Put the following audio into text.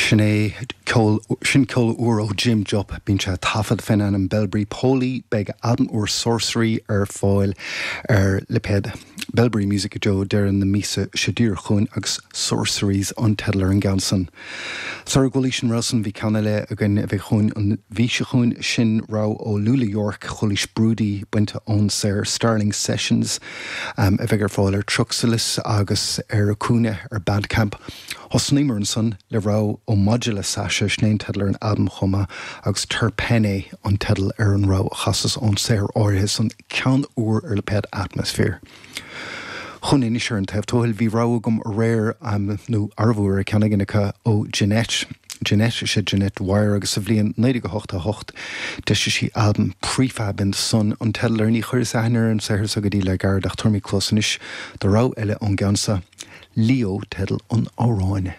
Sin é ceol, sin ceol úr ó Jim Jupp. Bíonn sé ag taifead fén ainm Belbury Poly. Beidh a albam úr Sorcery ar fáil ar lipéad Belbury Music i dtreo deireadh na míosa seo díreach chugainn agus Sorceries an teideal ar an gceann san. Sara gcualaís an rogha san bhí ceann eile againn a bheidh chugainn an mhí seo chugainn, sin rogha ó Lula York, chualaís Broody bainte ón saothar Starling Sessions a bheidh ar fáil ar Truxalis agus ar Acuna ar Bandcamp. Thosnaíomar ansan le rogha ó Modula Sasha, sin é an teideal ar an albam chomh maith, agus Terpene an teideal ar an rogha a chasas ón saothar áirithe san, ceann úr ar lipéad Atmosphere. Chugainn anois ar an taobh tuathail, bhí rogha agam aréir, nó arbh fhiú ar ceann éigin acu, ó Jeanette. Jeanette, is ea Jeanette Dwyer, agus sa bhliain 1988 d'eisigh sí albam Prefab in the Sun an teideal air. Ní chuireas aithne ar an saothar so go dtí le gairid ach tabharfaidh mé cluas anois do rogha eile ón gceann so. Leo teideal an amhráin.